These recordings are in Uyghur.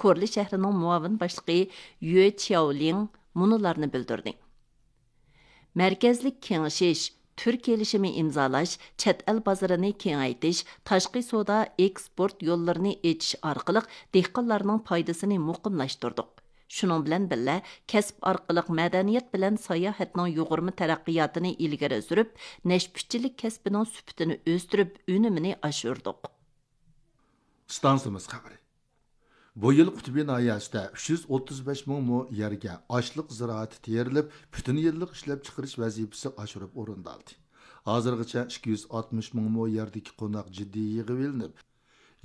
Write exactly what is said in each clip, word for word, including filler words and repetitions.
كورلى شەھىرىنىڭ مۇئاۋىن باشلىقى يۈ چياۋلىڭ مۇنۇلارنى بىلدۈردى. مەركەزلىك كېڭىشىش، تۈر كېلىشىمى ئىمزالاش، چەت ئەل بازىرىنى كېڭەيتىش، تاشقى سودا، ئېكسپورت يوللىرىنى ئېچىش ئارقىلىق دېھقانلارنىڭ پايدىسىنى مۇقىملاشتۇردۇق. شۇنىڭ بىلەن بىللە، كەسىپ ئارقىلىق مەدەنىيەت بىلەن ساياھەتنىڭ يۇغۇرما تەرەققىياتىنى ئىلگىرى سۈرۈپ، نەشپۈتچىلىك كەسپىنىڭ سۈپىتىنى ئۆستۈرۈپ، ئۈنۈمىنى ئاشۇردۇق. ئىستانسىمىز خەۋىرى. بۇ يىل قۇتبى ناھىيەسىدە ئۈچ يۈز ئوتتۇز بەش مىڭ مو يەرگە ئاشلىق زىرائىتى تېرىلىپ، پۈتۈن يىللىق ئىشلەپچىقىرىش ۋەزىپىسى ئاشۇرۇپ ئورۇندالدى. ھازىرغىچە ئىككى يۈز ئاتمىش مىڭ مو يەردىكى قوناق جىددىي يىغىۋېلىنىپ،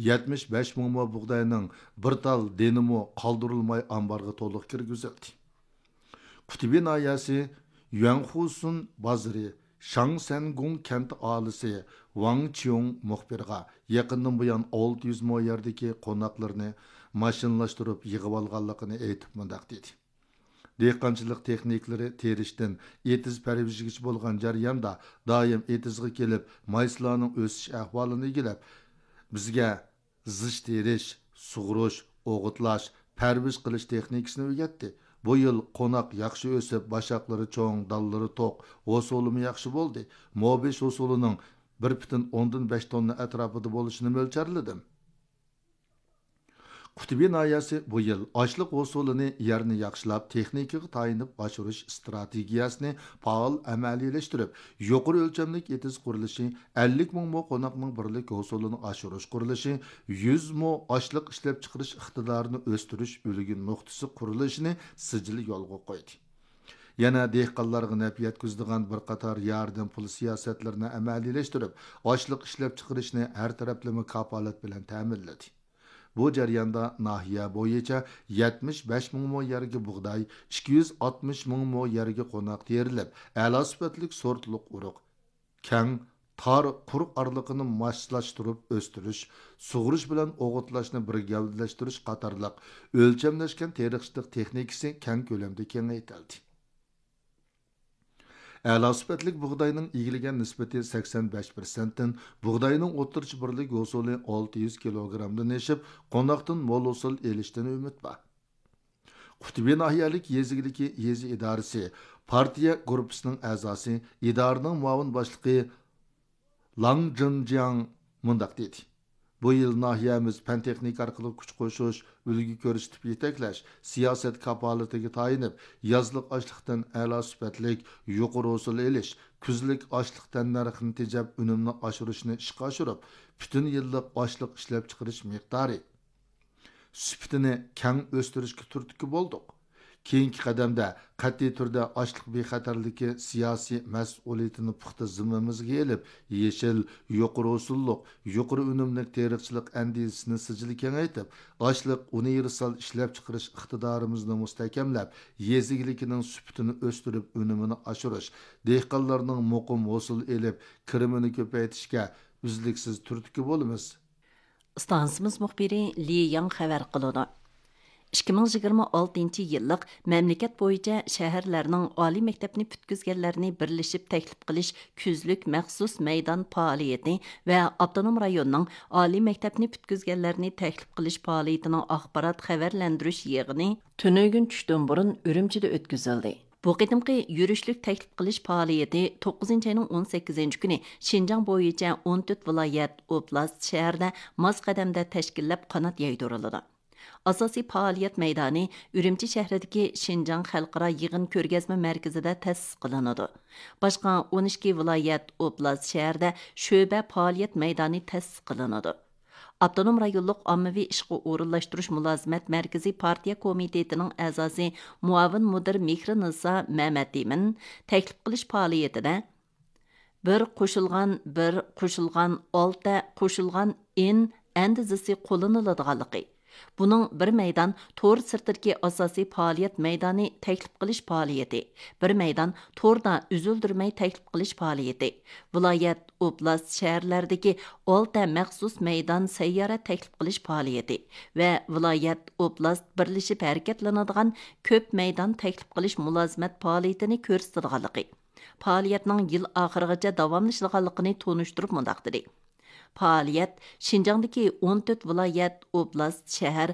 يەتمىش بەش مىڭ مو بۇغداينىڭ بىر تال دېنىمۇ قالدۇرۇلماي ئامبارغا تولۇق كىرگۈزۈلدى. قۇتبى ناھىيەسى يۈەنخۇسۇن بازىرى شاڭسەنگۇڭ كەنت ئاھالىسى ۋاڭ چيۇڭ مۇخبىرغا يېقىندىن بۇيان ئالتە يۈز مو يەردىكى قوناقلىرىنى ماشىنىلاشتۇرۇپ يىغىۋالغانلىقىنى ئېيتىپ مۇنداق دېدى: دېھقانچىلىق تېخنىكىلىرى تېرىشتىن ئېتىز پەرۋىشىگىچە بولغان جەرياندا دائىم ئېتىزغا كېلىپ، مايسىلارنىڭ ئۆسۈش ئەھۋالىنى ئىگىلەپ، بىزگە زىچ تېرىش، سۇغۇرۇش، ئوغۇتلاش، پەرۋىش قىلىش تېخنىكىسىنى ئۆگەتتى. بۇ يىل قوناق ياخشى ئۆسۈپ، باشاقلىرى چوڭ، دانلىرى توق، ھوسۇلىمۇ ياخشى بولدى. مو بەش ھوسۇلىنىڭ بىر پۈتۈن ئوندىن بەش توننا ئەتراپىدا بولۇشىنى مۆلچەرلىدىم. قۇتبى ناھىيەسى بۇ يىل ئاشلىق ھوسۇلىنى يەرنى ياخشىلاپ، تېخنىكىغا تايىنىپ ئاشۇرۇش ئىستراتېگىيەسىنى پائال ئەمەلىيلەشتۈرۈپ، يۇقىرى ئۆلچەملىك ئېتىز قۇرۇلۇشى، ئەللىك مىڭ مو قوناقنىڭ بىرلىك ھوسۇلىنى ئاشۇرۇش قۇرۇلۇشى، يۈز مو ئاشلىق ئىشلەپچىقىرىش ئىقتىدارىنى ئۆستۈرۈش ئۈلگە نۇقتىسى قۇرۇلۇشىنى سىجىل يولغا قويدى. يەنە دېھقانلارغا نەپ يەتكۈزىدىغان بىر قاتار ياردەم پۇل سىياسەتلىرىنى ئەمەلىيلەشتۈرۈپ، ئاشلىق ئىشلەپچىقىرىشنى ھەر تەرەپلىمە كاپالەت بىلەن تەمىنلىدى. بۇ جەرياندا ناھىيە بويىچە يەتمىش بەش مىڭ مو يەرگە بۇغداي، ئىككى يۈز ئاتمىش مىڭ مو يەرگە قوناق تېرىلىپ، ئەلا سۈپەتلىك سورتلۇق ئۇرۇق، كەڭ، تار، قۇر ئارىلىقىنى ماسلاشتۇرۇپ ئۆستۈرۈش، سۇغۇرۇش بىلەن ئوغۇتلاشنى بىر گەۋدىلەشتۈرۈش قاتارلىق ئۆلچەملەشكەن تېرىقچىلىق تېخنىكىسى كەڭ كۆلەمدە كېڭەيتىلدى. ئەلا سۈپەتلىك بۇغداينىڭ ئىگىلىگەن نىسبىتى سەكسەن بەش پىرسەنتتىن، بۇغداينىڭ ئوتتۇرىچە بىرلىك ھوسۇلى ئالتە يۈز كىلوگرامدىن ئېشىپ، قوناقتىن مول ھوسۇل ئېلىشتىن ئۈمىد بار. قۇتبى ناھىيەلىك يېزا ئىگىلىكى يېزا ئىدارىسى پارتىيە گۇرۇپپىسىنىڭ ئەزاسى، ئىدارىنىڭ مۇئاۋىن باشلىقى لاڭ جىنجياڭ مۇنداق دېدى: بۇ يىل ناھىيەمىز پەن تېخنىكا ئارقىلىق كۈچ قوشۇش، ئۈلگە كۆرسىتىپ يېتەكلەش، سىياسەت كاپالىتىگە تايىنىپ، يازلىق ئاشلىقتىن ئەلا سۈپەتلىك، يۇقىرى ھوسۇل ئېلىش، كۈزلۈك ئاشلىق تەننەرخىنى تېجەپ، ئۈنۈمنى ئاشۇرۇشنى ئىشقا ئاشۇرۇپ، پۈتۈن يىللىق ئاشلىق ئىشلەپچىقىرىش مىقدارى، سۈپىتىنى كەڭ ئۆستۈرۈشكە تۈرتكە بولدۇق. كېيىنكى قەدەمدە قەتئىي تۈردە ئاشلىق بىخەتەرلىكى سىياسىي مەسئۇلىيىتىنى پۇختا زىممىمىزگە ئېلىپ، يېشىل، يۇقىرى ھوسۇللۇق، يۇقىرى ئۈنۈملۈك تېرىقچىلىق ئەندىزىسىنى سىجىل كېڭەيتىپ، ئاشلىق ئۇنىۋېرسال ئىشلەپچىقىرىش ئىقتىدارىمىزنى مۇستەھكەملەپ، يېزا ئىگىلىكىنىڭ سۈپىتىنى ئۆستۈرۈپ، ئۈنۈمىنى ئاشۇرۇش، دېھقانلارنىڭ مۇقىم ھوسۇل ئېلىپ، كىرىمىنى كۆپەيتىشكە ئۈزلۈكسىز تۈرتكە بولىمىز. ئىستانسىمىز مۇخبىرى لى ياڭ خەۋەر قىلىدۇ. ئىككى مىڭ يىگىرمە ئالتىنچى يىللىق مەملىكەت بويىچە شەھەرلەرنىڭ ئالىي مەكتەپنى پۈتكۈزگەنلەرنى بىرلىشىپ تەكلىپ قىلىش كۈزلۈك مەخسۇس مەيدان پائالىيىتى ۋە ئاپتونوم رايوننىڭ ئالىي مەكتەپنى پۈتكۈزگەنلەرنى تەكلىپ قىلىش پائالىيىتىنىڭ ئاخبارات خەۋەرلەندۈرۈش يىغىنى تۈنۈگۈن چۈشتىن بۇرۇن ئۈرۈمچىدە ئۆتكۈزۈلدى. بۇ قېتىمقى يۈرۈشلۈك تەكلىپ قىلىش پائالىيىتى توققۇزىنچى ئاينىڭ ئون سەككىزىنچى كۈنى شىنجاڭ بويىچە ئون تۆت ۋىلايەت، ئوبلاست، شەھەردە ماس قەدەمدە تەشكىللەپ قانات يايدۇرۇلىدۇ. ئاساسىي پائالىيەت مەيدانى ئۈرۈمچى شەھىرىدىكى شىنجاڭ خەلقئارا يىغىن كۆرگەزمە مەركىزىدە تەسىس قىلىنىدۇ. باشقا ئون ئىككى ۋىلايەت، ئوبلاست، شەھەردە شۆبە پائالىيەت مەيدانى تەسىس قىلىنىدۇ. ئاپتونوم رايونلۇق ئاممىۋى ئىشقا ئورۇنلاشتۇرۇش مۇلازىمەت مەركىزى پارتىيە كومىتېتىنىڭ ئەزاسى، مۇئاۋىن مۇدىر مېھرىنىسا مەمەتئىمىن تەكلىپ قىلىش پائالىيىتىدە، بىر قوشۇلغان بىر قوشۇلغان ئالتە قوشۇلغان ئىن ئەندىزىسى قوللىنىلىدىغانلىقى، بۇنىڭ بىر مەيدان تور سىرتىدىكى ئاساسىي پائالىيەت مەيدانى تەكلىپ قىلىش پائالىيىتى، بىر مەيدان توردا ئۈزۈلدۈرمەي تەكلىپ قىلىش پائالىيىتى، ۋىلايەت، ئوبلاست، شەھەرلەردىكى ئالتە مەخسۇس مەيدان سەييارە تەكلىپ قىلىش پائالىيىتى ۋە ۋىلايەت، ئوبلاست بىرلىشىپ ھەرىكەتلىنىدىغان كۆپ مەيدان تەكلىپ قىلىش مۇلازىمەت پائالىيىتىنى كۆرسىتىدىغانلىقى، پائالىيەتنىڭ يىل ئاخىرىغىچە داۋاملىشىدىغانلىقىنى تونۇشتۇرۇپ مۇنداق دېدى: پائالىيەت شىنجاڭدىكى ئون تۆت ۋىلايەت، ئوبلاست، شەھەر،